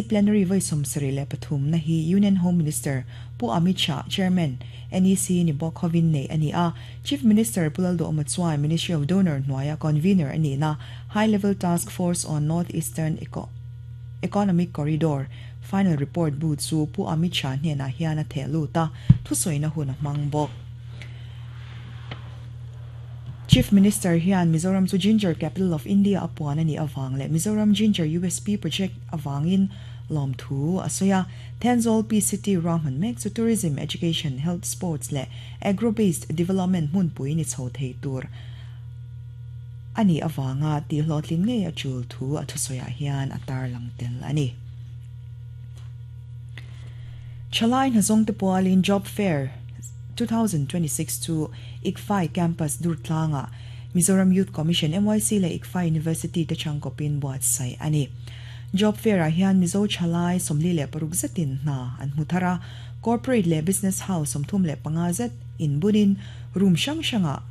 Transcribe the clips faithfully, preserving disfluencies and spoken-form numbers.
Plenary voi sawmsarih leh pathum na hi Union Home Minister Pu Amit Shah, Chairman, N E C ni bawk hovin nei ani a. Chief Minister Pu Lalduhoma chuan Ministry of DoNER hnuaia convener ani na High Level Task Force on North Eastern Eco Economic Corridor final report bu chu Pu Amit Shah hnenah hian a theh lut a, thusawi hun a hmang bawk. Chief Minister hian Mizoram chu Ginger Capital of India apuan ani awang le Mizoram Ginger U S P project awangin lom thu asoya. Thenzawl Peace City ruahman mek chu tourism, education, health, sports le agro based development hmun pui ni chho thei tur ani awanga ti hlawhtlin ngei a chul thu a thusawi hian a tar lang tel ani. Chalai Hnazong te pualin Job Fair twenty twenty-six chu I C F A I Campus Durtlanga Mizoram Youth Commission M Y C le I C F A I University te changkopin buat sai ani. Job Fair a hian Mizo Chalai somli le paruk zetin na an muthara. Corporate le business house somthum le panga zet in bunin room shang shanga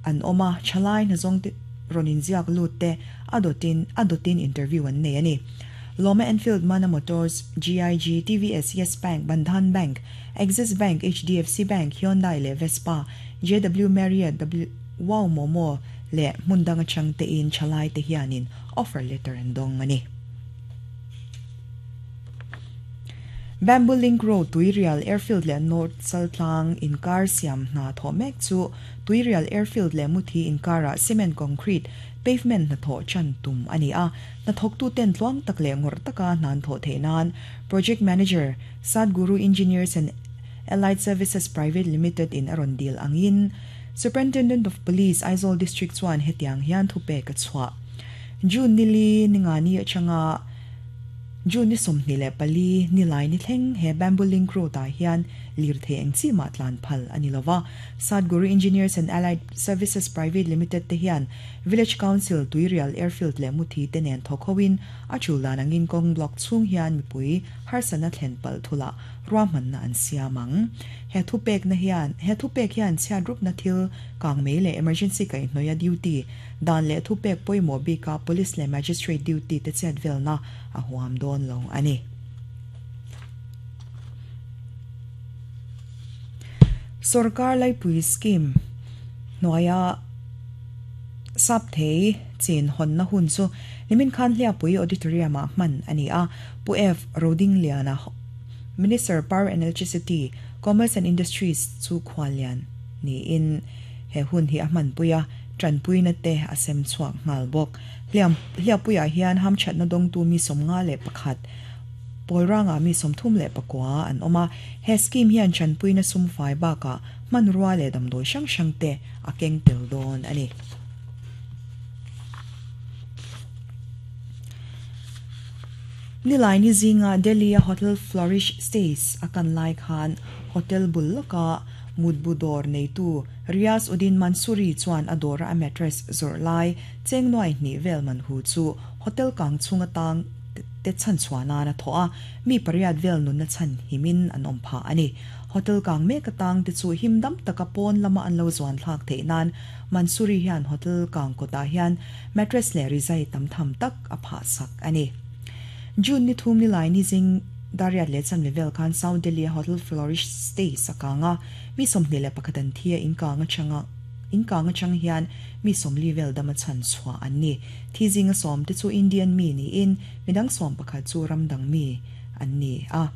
an oma. Chalai hnazong te ronin ziak lut te adotin adotin interview an nei ani. Loma Enfield, Mana Motors, G I G, T V S, Yes Bank, Bandhan Bank, Axis Bank, H D F C Bank, Hyundai le Vespa, J W Marriott, W Wow Momo le mundanga chang te in chalai te hianin offer letter an dong ani. Bamboo Link Road, Tuirial Airfield le North Chaltlang inkar siam na tho mek chu Tuirial Airfield le Muthi inkara cement concrete pavement na tho chan tum ani a. Na thok tu ten tluang tak le ngor taka nan tho the nan project manager Sadguru Engineers and Allied Services Private Limited in aron deal angin Superintendent of Police, Aizawl District chuan hetiang hian thu pe ka chwa. June nili ningani achanga June ni sawmhnih leh pali nilai ni thleng he Bamboo Link Road ah hian lirthei eng chi mah tlan phal ani lova. Sadguru Engineers and Allied Services Private Limited te hian Village Council, Tuirial Airfield leh Muthi te nen thawkhawin a chuldan angin kawng block chhung hian mipui harsana thlen pal thula ruahmanna an siamang. He thu pek na hian he thu pek hian chhiat rup na thil kang mei leh emergency kai hnoia duty dan leh thu pek pawimawh bika police leh magistrate duty te chet velna a huam dawn lo ani. Sarkar laipui scheme hnuaia sap thei chin hawn na hun chu nimin khan Hliappui Auditorium ah hman ani a. Pu F Rodingliana, Minister, Power and Electricity, Commerce and Industries chu khwalian ni in he hun hi a hman puia tranpui na te a sem chuak ngal bawk. Hliam Hliappuiah hian ham that na dawng tu mi sawmnga leh pakhat, pawlranga mi sawmthum leh pakua an awm a. He scheme hian tranpui na sum fai bakah hmanrua leh damdawi hrang hrang te a keng tel dawn ani. Nilai ni zinga Delhi a Hotel Flourish Stays akan lai khan hotel bul laka mutbu dawr neitu Riaz Uddin Mansuri chuan a dawra a mattress zawrh lai cheng nuai hnih vel man hu chu hotel kang chhunga tang te chan chuanan a thaw a, mi pariat vel nun na chan himin an awm pha ani. Hotel kang mek atang te chu himdam taka pawn lama an lo zuan thlak theih nan Mansuri hian hotel kang kawtah hian mattress leh rizai tam tham tak a phah sak ani. June ni thum ni lai ni zing dariat leh chan level khan South Delhi Hotel Flourish Stays akanga mi sawmhnih leh pakhat an thia. In kanga changa in kanga chang hian mi sawmli vel dama chan chhuah an ni. Thi zinga sawm te chu Indian mi ni in midang sawm pakhat chu ramdang mi an ni a.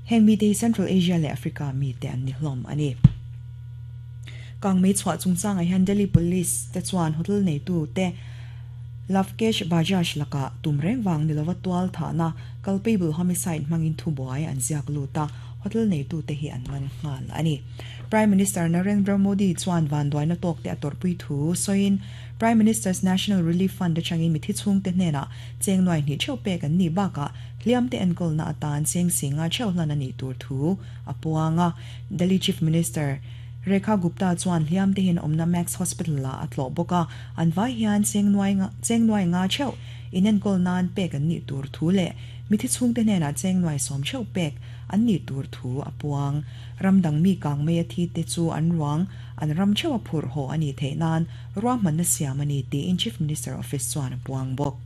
Heng mi te Central Asia leh Africa mi te an ni hlawm ani. Kang mei chhuah chungchanga hian Delhi Police te chuan hotel nei tu te Lavkesh Bajaj laka tumreng wang nilowa tual tha na culpable homicide mangin thubuai an ziak luta. Hotel nei tu te hi an man ngal ani. Prime Minister Narendra Modi chuan van duai na tok te atorpui thu soin Prime Minister's National Relief Fund changin mi thi chung te hnena cheng noi ni cheu pek an ni baka hliam te enkol na atan cheng singa cheu hlan ani tur thu apuanga. Delhi Chief Minister Rekha Gupta chuan hliam te hin omna Max Hospital la atlo boka. An vai hian cheng nuai nga cheng nuai nga cheu inen kol nan pek an ni tur thu le mi thi chung te hnena cheng nuai som cheu pek an ni tur thu apuang. Ramdang mi kang me thi te chu an ruang an ram thewa phur ho ani theinan ruahman na siam ani ti in Chief Minister Office chuan puang bawk.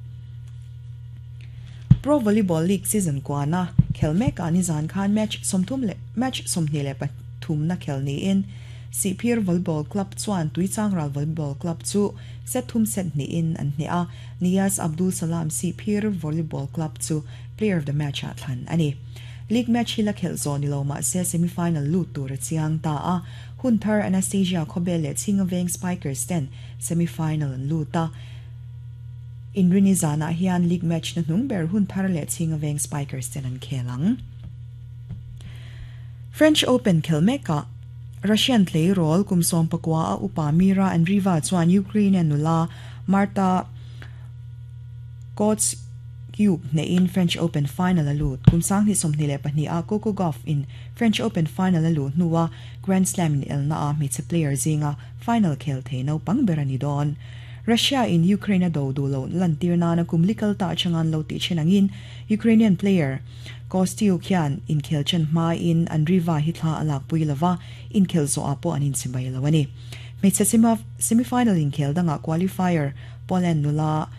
Pro Volleyball League season kwana khelmek ani zan khan match somthum le match somhni le pathum na khelni in Sihphir Volleyball Club chuan Tuichangral Volleyball Club chu set thum set ni in an hne a Nias Abdul Salam Sihphir Volleyball Club chu player of the match a thlan ani. League match hi la khel zo ni lo ma se semifinal lut tur chiang ta a Hunthar Anastasia Khobel le Chingaveng Spikers ten semifinal an luta. Inrini zana hian league match na hnung ber Hunthar le Chingaveng Spikers ten an khelang. French Open khelmeka Russian play role kumsom pakwa a upa Mira Andreeva chuan Ukraine nula Marta Kostyuk ne in French Open final alut kumsang ni somni le pahni a Coco Gauff in French Open final alut nuwa Grand Slam in elna a mi player zinga final khel the no pangberani don. Russia in Ukraine do do lo lantir na na kumlikal ta changan lo ti chenangin Ukrainian player Kostyuk hian in khel chen ma in Andreeva hitla alak puilava in khel zo apo anin simbai lawani. Hmeichhe semifinal in khel danga qualifier Poland nula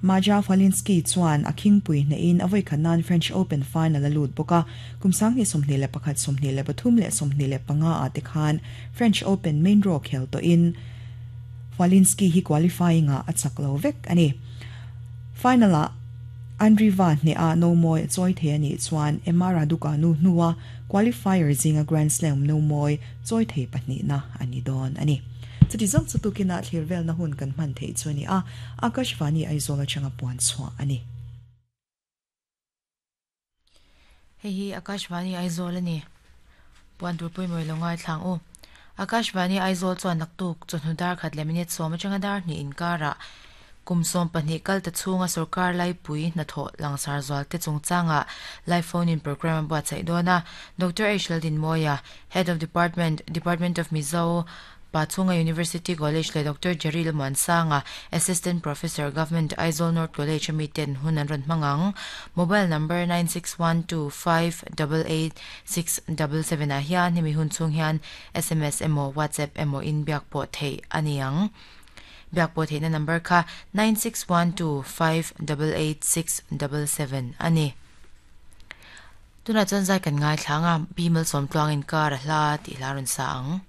Maja Falinski chuan a khingpui hne in avoi khanan French Open final alut boka kumsang ni somhni le pakhat somhni le pathum le somhni le panga a te khan French Open main draw khel to in Falinski hi qualifying a achak lo vek ani. Final a Andreeva hne a no moi choi the ani chuan Emma Raducanu nuwa qualifier zinga Grand Slam no moi choi the pahni na ani don ani. Chuti zong chu tukina thlir vel na hun kan man thei chuni a Akashvani Aizawl atanga puan chhuah ani. Hei hi Akashvani Aizawl ani. Puan tur pui moi longai thlang u. Akashvani Aizawl chuan naktuk chawhnu dar khat le minute sawm atanga dar hnih inkara kumsawm pahnih kal ta chhunga sarkar laipui hnathawh langsar zual te chungchanga live phone in program a buatsaih dawn a Doctor H Laldinmawia Head of Department Department of Mizo Pachhunga University College le Doctor Jerry Muansanga Assistant Professor Government Aizawl North College ami ten hun an rawn hmangang mobile number nine six one two five eight eight six seven seven ah hian hemi hun chhung hian S M S emaw WhatsApp emaw in biak pawh theih ani ang. Biak pawh theihna number kha nine six one two five eight eight six seven seven ani. Tuna chuan zai kan ngai thlanga bimal sawm tluangin kar a hla tih hla rawn sa ang.